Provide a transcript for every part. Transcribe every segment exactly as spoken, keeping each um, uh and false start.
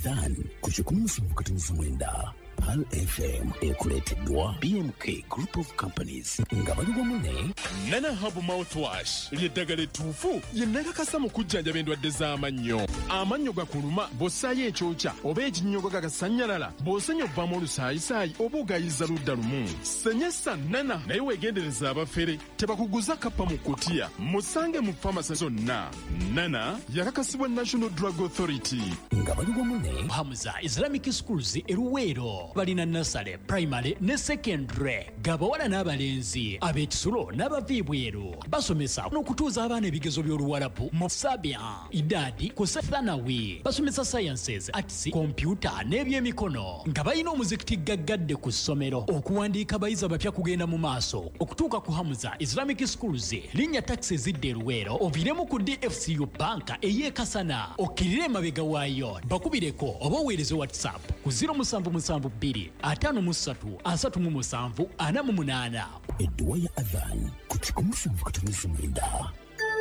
Adhan ku kikumi musanvu katonnyeza mwenda Pearl F M ekuleeteddwa B M K Group of Companies nga bali wamu ne Nana Herb Mouthwash ly'eddagala ettuufu lye nakakasa mu kujjanjaba endwadde z'amannyo. Amannyo gakuluma bw'ossaayo ekyokya oba ekinnyogo gagasannyalala, bw'osenya ovaamu olusaayisaayi oba ogayiza ludda lumu. Senyesa Nana, naye weegendereza abafere tebakuguza kappa mu kutiya. Musange mu famasi zonna. Nana yakakasibwa National Drug Authority. Nga bali wamu ne Hamza Islamic Schools e Luweero balina nursery, primary ne secondary, gabawala n'abalenzi, ab'ekisulo n'abava ebweru. Basomesa n'okutuuza abaana ebigezo by'Oluwarabu mu Sabia, Idadi ku Thanawi. Basomesa sciences, arts, kompyuta n'ebyemikono nga balina omuzikiti gaggadde ku ssomero. Okuwandiika abayizi abapya kugenda mu maaso. Okutuuka ku Hamza Islamic Schools, linnya takisi ezidda e Luweero, oviiremu ku D F C U Banka ey'ekasana, okkirire emabega waayo. Bakubireko oba oweereze WhatsApp ku zero musanvu musanvu bbiri ataano mu ssatu asatu mu musanvu ana mu munaana. Edduwa ya Adhan ku kikumi musanvu katonnyeza mwenda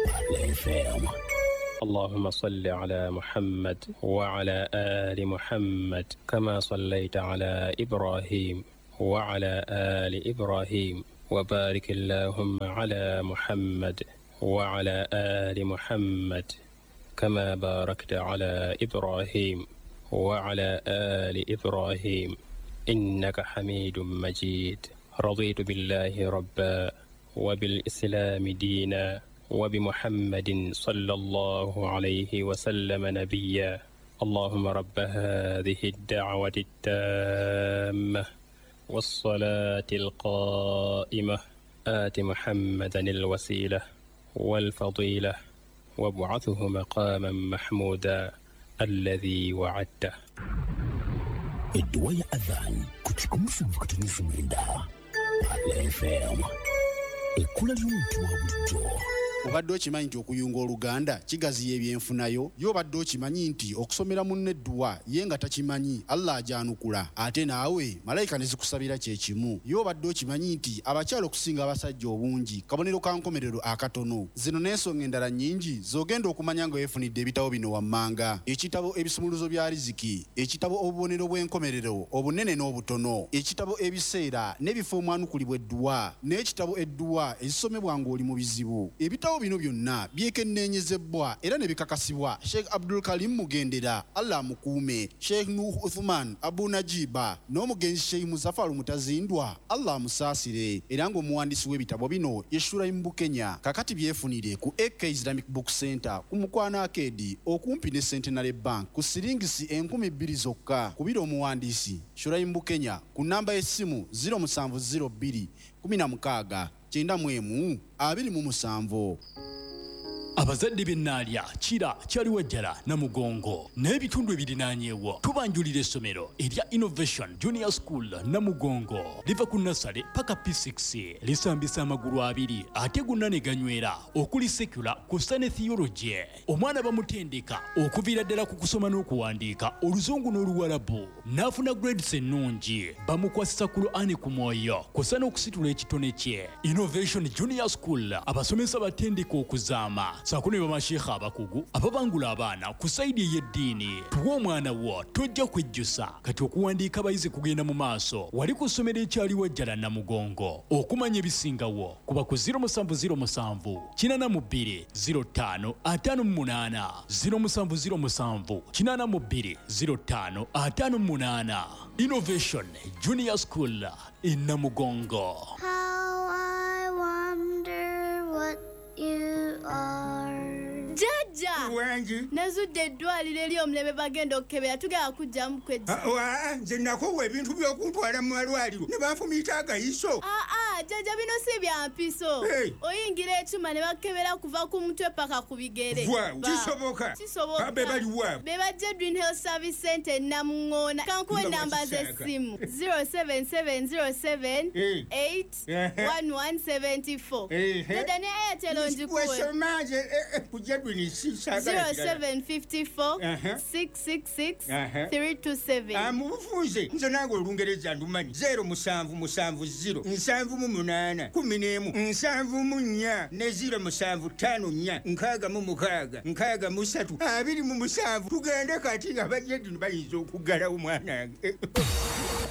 Pearl F M. اللهم صل على محمد وعلى آل محمد كما صليت على إبراهيم وعلى آل إبراهيم، وبارك اللهم على محمد وعلى آل محمد كما باركت على إبراهيم وعلى آل إبراهيم، إنك حميد مجيد. رضيت بالله ربا، وبالإسلام دينا، وبمحمد صلى الله عليه وسلم نبيا. اللهم رب هذه الدعوة التامة والصلاة القائمة، آت محمدا الوسيلة والفضيلة، وابعثه مقاما محمودا الذي وعدته. Edduwa ya Adhan ku kikumi musanvu katonnyeza mwenda Pearl F M, ekkula ly'omuntu wa bulijjo. Obadde okimanyi nti okuyunga oluganda kigaziya ebyenfunayo? Ye obadde okimanyi nti okusomera munno edduwa ye nga takimanyi, Allah agyanukula, ate naawe malayika ne zikusabira kyekimu? Ye obadde okimanyi nti abakyala okusinga abasajja obungi kabonero ka nkomerero akatono? Zino n'ensonga endala nnyingi z'ogenda okumanya nga weefunidde ebitabo bino wammanga: ekitabo Ebisumuluzo bya Riziki, ekitabo Obubonero bw'enkomerero obunene n'obutono, ekitabo Ebiseera n'ebifo omwanukulibwa edduwa, n'ekitabo Edduwa ezisomebwa ng'oli mu bizibu. Ebitabo bino byonna byekenneenyezebwa era ne bikakasibwa Sheikh Abdul Karim Mugendera, Allah amukuume, Sheikh Nuh Uthman Abu Najiba n'omugenzi Sheikh Muzafaru Mutazindwa, Allah amusaasire, era ng'omuwandiisi w'ebitabo bino ye Shuraim Bukenya. Kakati byefunire ku A K Islamic Book Center ku Mukwano Arcade okumpi ne Centenary Bank ku siringisi enkumi bbiri zokka. Kubira omuwandiisi Shuraim Bukenya ku namba y'essimu zero musanvu zero bbiri kkumi na mukaaga kyenda mu emu abiri mu musanvu. Abazadde b'Ennaalya, Kira, Kyaliwajjala, Namugongo n'ebitundu ebirinaanyeewo, tubanjulira essomero erya Innovation Junior School Namugongo. Liva ku nursery paka P six, lisambisa amagulu abiri ate gonna ne ganywera, okuli secular ku ne theology. Omwana bamutendeka okuviira ddala ku kusoma n'okuwandiika Oluzungu n'Oluwalabu n'afuna grades ennungi. Bamukwasisa Qur'ani ku mwoyo kw'ossa n'okusitula ekitone kye. Innovation Junior School abasomesa batendeka okuzaama saako ne bamasheekha abakugu ababangula abaana ku side ey'eddiini. Tuwa omwana wo, tojja kwejjusa. Kati okuwandiika abayizi kugenda mu maaso wali ku ssomero ekyaliwajjala Namugongo. Okumanya ebisingawo kuba ku zero musanvu zero musanvu kinaana mu bbiri zero ttaano ataano mu munaana, zero musanvu zero musanvu kinaana mu bbiri zero ttaano ataano mu munaana. Innovation Junior School e Namugongo. How I wonder what you are. Jjajja! Wangi. Nazudde eddwaliro ery'omulembe, bagenda okukebera, tugenda kujjamu kwejja. Wa, nze nakoowa ebintu by'okuntwala mu malwaliro ne banfumiita agayiso. Aa, jjajja, bino si bya mpiso. Hey. Oyingira ekyuma ne bakukebera kuva ku mutwe paka ku bigere. Waaw, Ba- kisoboka? Kisoboka. Be baliwa? Be bajja Green Health Service Center e Namuŋŋoona. Kankuwa Nga ennamba wakisaaka. z'essimu: zero seven seven zero seven Eh. eight Ehe. one one seven four. Ehe. Jjajja, ne Airtel ngikuwe. Wesoma nze eh, eh, ku Jedwin sisaagala kirala. zero seven five four Aha. six six six Aha. three two seven. Ah, mu bufunze nze nange Olungereza ndumanyi. zero musanvu musanvu zero nsanvu mu munaana kumi n'emu nsanvu mu nnya ne ziro musanvu ttaano nnya nkaaga mu mukaaga nkaaga mu ssatu abiri mu musanvu. Tugende kati nga bajja bayinza okuggalawo mwanange.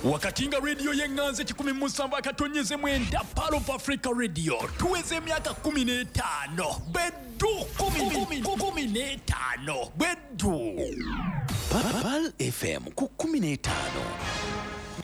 Wakati nga radio y'eŋŋanzi kikumi mu musanvu akatonyeze mwenda Pearl of Africa Radio tuweze emyaka kumi n'etaano beddu kumi kumi n'etaano beddu Pearl F M ku kumi n'etaano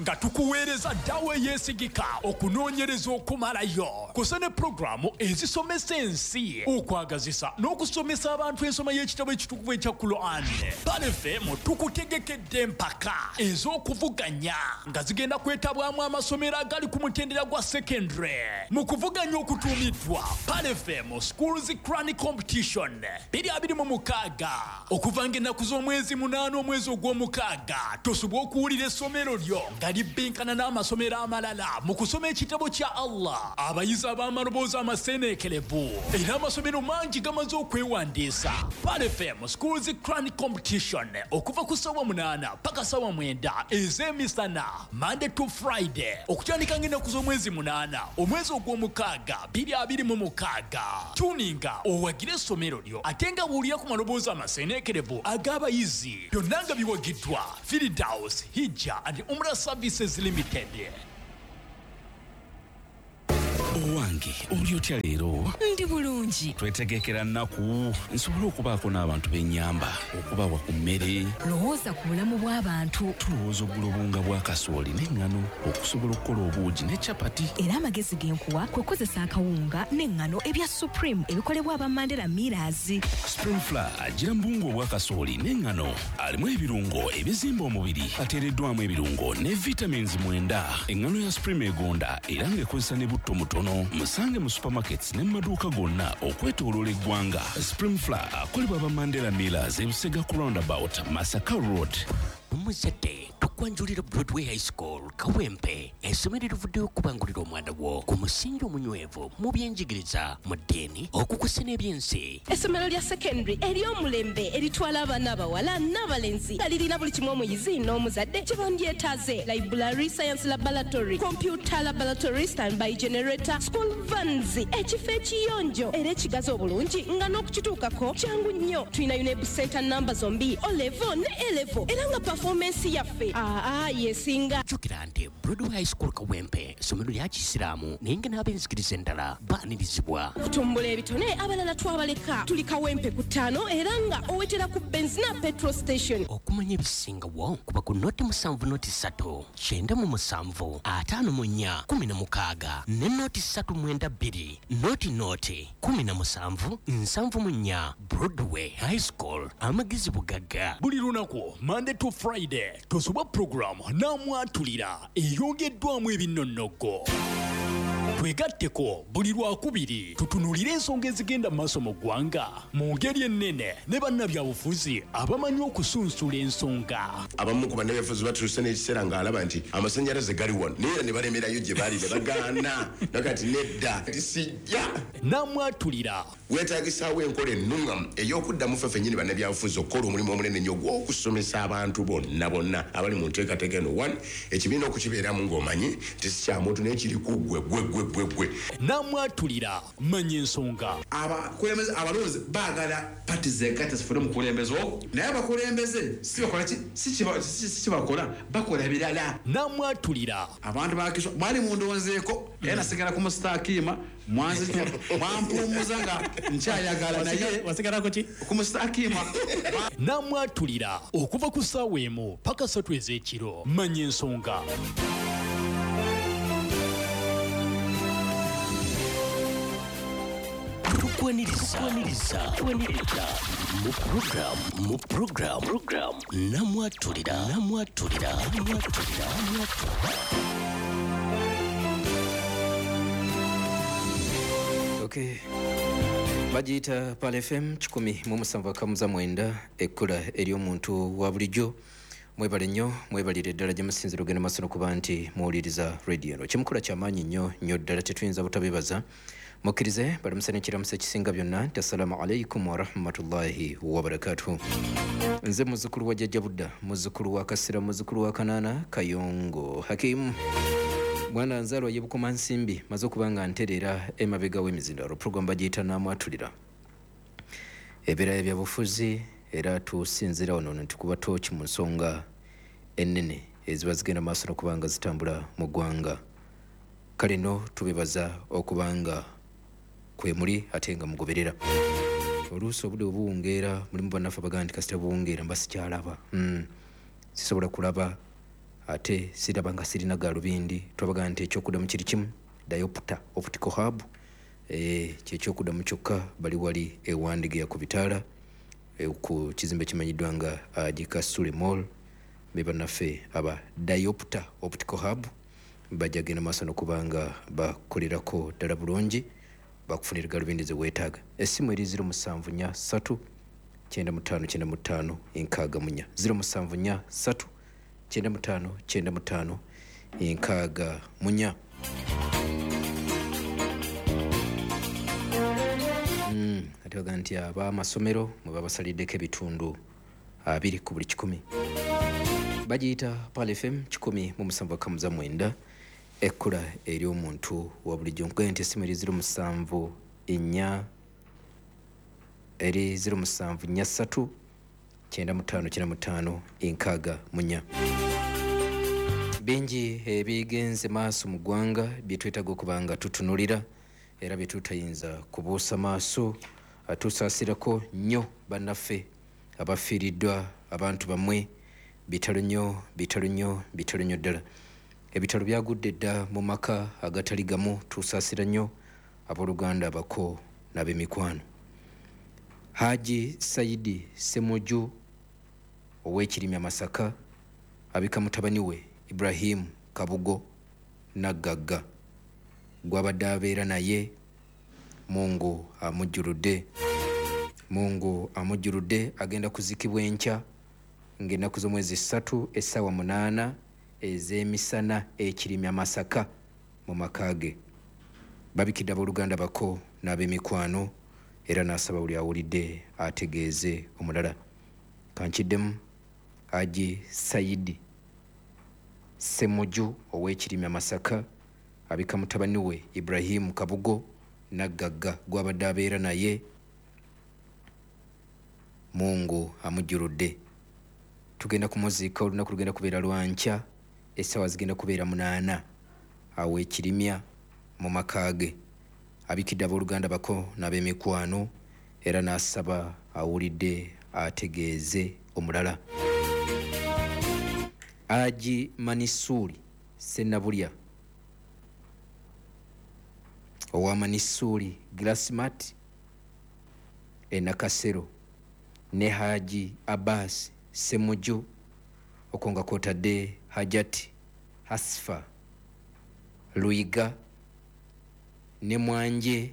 nga tukuweereza ddawa eyeesigika okunoonyereza okumalayo kusa ne pulogulaamu ezisomesa ensi okwagazisa n'okusomesa abantu ensoma y'ekitabo ekitukuvu ekya Quran. Pearl F M tukutegekedde empaka ez'okuvuganya nga zigenda kwetabwamu amasomero agali ku mutendera gwa secondary mu kuvuganya okutuumiddwa Pearl F M Schools Quran Competition bbiri abiri mu mukaaga okuva ng'ennaku z'omwezi munaana omwezi ogw'omukaaga tosobola okuwulira essomero lyo nga libbinkana n'amasomero amalala mu kusoma ekitabo kya Allah. Abayizi ab'amaloboozi amaseeneekerevu era amasomero mangi gamaze okwewandiisa. Pearl F M Schools Quran Competition okuva ku ssaawa munaana paka ssaawa mwenda ez'emisana Monday to Friday okutandika ng'ennaku z'omwezi munaana omwezi ogw'omukaaga bbiri abiri mu mukaaga. Tuninga owagire essomero lyo ate nga buulira ku maloboozi amaseeneekerevu ag'abayizi byonna nga biwagiddwa Firdaus Hijja and Umrah Services Limited. Owange oli otya leero? Ndi bulungi. Twetegekera nnaku nsobole okubaako n'abantu b'ennyamba okubawa ku mmere. Lowooza ku bulamu bw'abantu. Tulowooza ogula obuwunga bwa kasooli n'eŋŋano okusobola okukola obuugi ne capati. Era amagezi ge nkuwa kwe kukozesa akawunga n'eŋŋano ebya Supreme ebikolebwa aba Mandela Millers. Supreme Flour agira mu buwunga obwa kasooli n'eŋŋano alimu ebirungo ebizimba omubiri ateereddwamu ebirungo ne vitamins mwenda. Eŋŋano ya Supreme egonda era ng'ekozesa ne butto mutono. Musange mu supermarkets ne mu maduuka gonna okwetooloola eggwanga. Supreme Flour akolebwa aba Mandela Millers ebusega ku roundabout Masaka Road. Omuzadde tukwanjulira Broadway High School Kawempe, essomero erivuddeyo okubangulira omwana wo ku musingi omunywevu mu byenjigiriza, mu ddiini, okukusa n'ebyensi. Essomero lya secondary ery'omulembe eritwala abaana abawala n'abalenzi nga lirina buli kimu omuyizi n'omuzadde kye bandyetaaze: library, science laboratory, computer laboratory, standby generator, school vans, ekifo ekiyonjo era ekigazi obulungi nga n'okukituukako kyangu nnyo. Tulina UNEB center namba zombi, O level ne A level, era nga performance yaffe aa yesinga. Jjukira nti Broadway High School Kawempe ssomero lya Kisiraamu naye nga n'ab'enzikiriza endala baanirizibwa. Okutumbula ebitone abalala twabaleka. Tuli Kawempe ku ttaano era nga owetera ku Benzina petrol station. Okumanya ebisingawo kuba ku noti musanvu noti ssatu kyenda mu musanvu ataano mu nnya kumi na mukaaga ne noti ssatu mwenda bbiri noti noti kumi na musanvu nsanvu mu nnya. Broadway High School, amagezi bugagga. Buli lunaku Monday to Friday tosubwa pulogulaamu n'amwatulira eyongeddwamu ebinnonnogo. Twegatteko buli lwakubiri tutunuulire ensonga ezigenda mu maaso mu ggwanga mu ngeri ennene ne bannabyabufuzi abamanyi okusunsula ensonga. Abamu ku bannabyabufuzi batuuse n'ekiseera ng'alaba nti amasannyalaze gali wano naye era ne balemerayo gye bali ne bagaana nakati nedda tisijja. N'amwatulira weetaagisaawo enkola ennuŋŋamu ey'okuddamu ffe ffennyini bannabyabufuzi okukola omulimu omunene ennyo ogw'okusomesa abantu bonna bonna abali mu nteekateeka eno. One, ekibiina okukibeeramu ng'omanyi nti si kya muntu naye kiri ku ggwe ggwe ggwe ggwe ggwe. N'amwatulira manya ensonga. Abakulembeze abalonzi baagala pati zegatta zifune omukulembeze ogwo, naye abakulembeze si bakola ki? Si kibakola, bakola birala. N'amwatulira abantu bakiswa mwali mundonzeeko era nasigala ku musitakiima mwampumuza nga nkyayagala naye wasigalako ki ku musitakiima. N'amwatulira okuva ku ssaawa emu paka ssatu ez'ekiro. Manya ensonga. Tukwaniriza tukwaniriza mu program mu program program namwatulira namwatulira namwatulira namwatulira. Okay. Bagiyita Pearl F M kikumi mu musanvu akamuza mwenda ekkula ery'omuntu wa bulijjo. Mwebale nnyo, mwebalire ddala gye musinzira ogenda maaso n'okuba nti muwuliriza radio eno. Kyemukola kyamaanyi nnyo nnyo ddala, tetuyinza butabeebaza. Mukkirize balamusa n'ekiramuso ekisinga byonna nti assalaamu alaikum warahmatullahi wabarakatuhu. Nze muzzukulu wa Jjajja Budda, muzzukulu wa Kasira, muzzukulu wa Kanaana Kayongo Hakimu. Mwana nzalwa ye Bukomansimbi maze okuba nga nterera emabega w'emizindalo. Program bagiyita Namwatulira, ebeera ebyabufuzi, era tusinziira wano nti kuba tooki mu nsonga ennene eziba zigenda maaso n'okuba nga zitambula mu ggwanga. Kale nno tubebaza okuba nga kwe muli ate nga mugoberera. Oluusi obudde obuwungeera mulimu bannaffe abagamba nti kasita buwungeera mba sikyalaba, mm. sisobola kulaba ate siraba nga sirina galubindi. Twabagamba nti ekyokuddamu kiri kimu, Diopter Optical Hub, eh, kyekyokuddamu kyokka. Bali wali ewandigeya ku bitaala, e, ku kizimbe kimanyiddwa nga uh, Gikasule Mall. Be bannaffe aba Diopter Optical Hub bajja genda maaso n'okuba nga bakolerako ddala bulungi, bakufunira galubindi ze weetaaga. Essimu eri ziro musanvu nnya ssatu kyenda mu ttaano kyenda mu ttaano enkaaga mu nnya, ziro musanvu nnya ssatu kyenda mu ttaano kyenda mu ttaano enkaaga mu nnya. Mm, ate baga nti ab'amasomero mwe babasaliddeko ebitundu abiri ku buli kikumi. Bagiyita Pearl F M kikumi mu musanvu akamuza mwenda, ekkula eri omuntu wa bulijjo. Nkugambye nti essimu eri ziro musanvu nnya, eri ziro musanvu nnya ssatu kyenda mu ttaano kyenda mu ttaano enkaaga mu nnya. Bingi ebigenze maaso mu ggwanga bye twetaaga okuba nga tutunulira era bye tutayinza kubuusa maaso. Tusaasirako nnyo bannaffe abafiiriddwa abantu bammwe. Bitalo nnyo, bitalo nnyo, bitalo nnyo ddala. Ebitalo byagudde dda mu maka agatali gamu. Tusaasira nnyo abooluganda, abako n'ab'emikwano. Haji Saidi Semuju ow'Ekirimya Masaka abika mutabani we Ibrahim Kabugo Naggagga gw'abadde abeera naye. Mungu amujjuludde, Mungu amujjuludde. Agenda kuzikibwa enkya ng'ennaku z'omwezi ssatu essaawa munaana ez'emisana Ekirimya Masaka mu maka ge. Babikidde abooluganda bako n'ab'emikwano, era n'asaba buli awulidde ategeeze omulala. Kankiddemu, Haji Saidi Semuju ow'Ekirimya Masaka abika mutabani we Ibrahim Kabugo Naggagga gw'abadde abeera naye. Mungu amujjuludde. Tugenda kumuziika, olunaku lugenda kubeera lwankya, essaawa zigenda kubeera munaana awo Ekirimya mu maka ge. Abikidde abooluganda bako n'ab'emikwano, era n'asaba awulidde ategeeze omulala. Haji Manisuri Sennabulya owa Manisuri Glassmat e Nakasero ne Haji Abbas Semuju, okwo nga kwotadde Hajati Hasfa Luiga ne Mwanje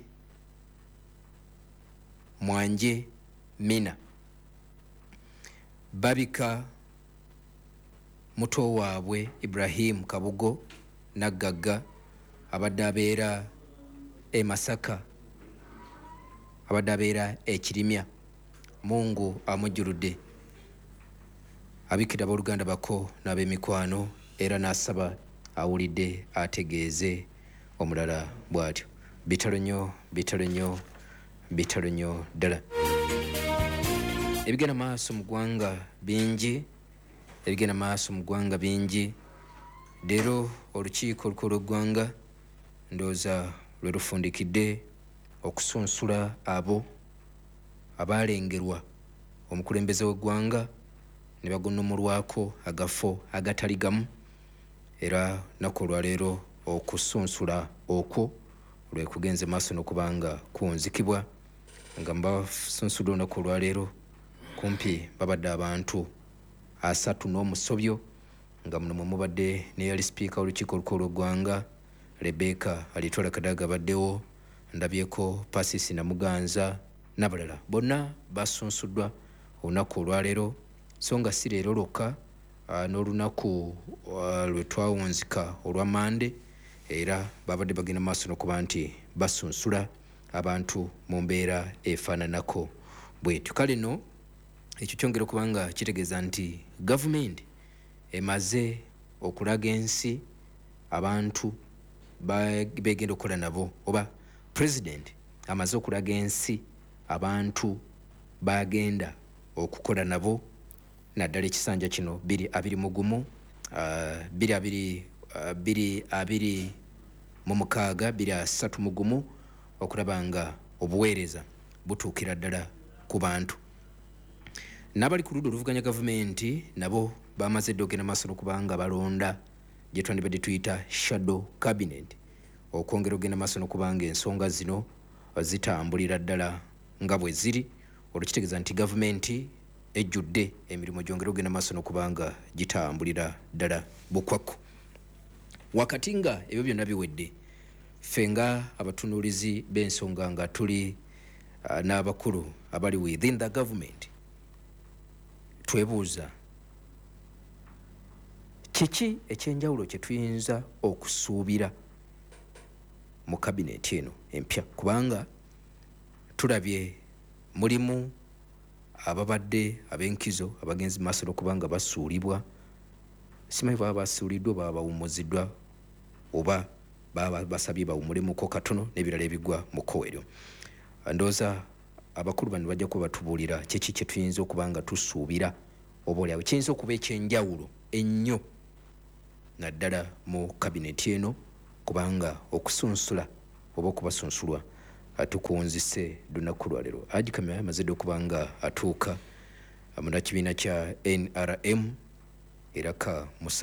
Mwanje Mina. Babika muto waabwe Ibrahim Kabugo Naggagga abadde abeera e Masaka, abadde abeera e Kirimya. Mungu amujjuludde. Abikira abooluganda bako n'ab'emikwano, era n'asaba awulidde ategeeze omulala bw'atyo. Bitalo nnyo, bitalo nnyo, bitalo nnyo ddala. Ebigenda maaso mu ggwanga bingi, ebigenda maaso mu ggwanga bingi. Leero olukiiko olukulu lw'eggwanga ndowooza lwe lufundikidde okusunsula abo abaalengerwa omukulembeze w'eggwanga ne bagonnomolwako agafo agatali gamu, era nnaku olwaleero okusunsula okwo lwe kugenze maaso n'okuba nga kuwunzikibwa. Nga mbasunsudde olunaku olwaleero kumpi babadde abantu asatu n'omusobyo, nga muno mwe mubadde n'eyali sipiika w'olukiiko olukulu lw'eggwanga Rebecca Alitwala Kadaga abaddewo, ndabyeko Pasisi Namuganza n'abalala. Bonna basunsuddwa olunaku olwaleero, so nga si leero lwokka, n'olunaku lwe twawunzika olwa Mande era babadde bagenda maaso n'okuba nti basunsula abantu mu mbeera efaananako bwetyo. Kale nno ekyo kyongera okuba nga kitegeeza nti gavumenti emaze okulaga ensi abantu begenda okukola nabo, oba president amaze okulaga ensi abantu bagenda okukola nabo naddala ekisanja kino bbiri abiri mu gumu, bbiri abiri bbiri abiri mu mukaaga, bbiri asatu mu gumu, okulaba nga obuweereza butuukira ddala ku bantu. N'abali ku ludda oluvuganya gavumenti nabo bamaze dda okugenda maaso n'okubanga balonda gye twandibadde tuyita shadow cabinet, okwongera okugenda maaso n'okubanga ensonga zino zitambulira ddala nga bwe ziri. Olwo kitegeeza nti gavumenti ejjudde emirimu gyongera okugenda maaso n'okubanga gitambulira ddala bukwakku. Wakati nga ebyo byonna biwedde, ffe nga abatunuulizi b'ensonga nga tuli uh, n'abakulu abali within the government, twebuuza kiki ekyenjawulo kye tuyinza okusuubira mu kabineti eno empya, kubanga tulabye mulimu ababadde ab'enkizo abagenzi maaso n'okubanga basuulibwa, simanyi baba basuuliddwa, baba bawummuziddwa, oba baba basabye bawummulemuko katono n'ebirala ebigwa mu kkowe eryo. Ndowooza abakulu bano bajja kuba batubuulira kiki kye tuyinza okuba nga tusuubira, oba oliawo kiyinza okuba ekyenjawulo ennyo naddala mu kabineti eno, kubanga okusunsula oba okubasunsulwa tukunzise lunaku lwaleero. Haji Kamya amaze dda okuba nga atuuka munnakibiina kya N R M era ka musa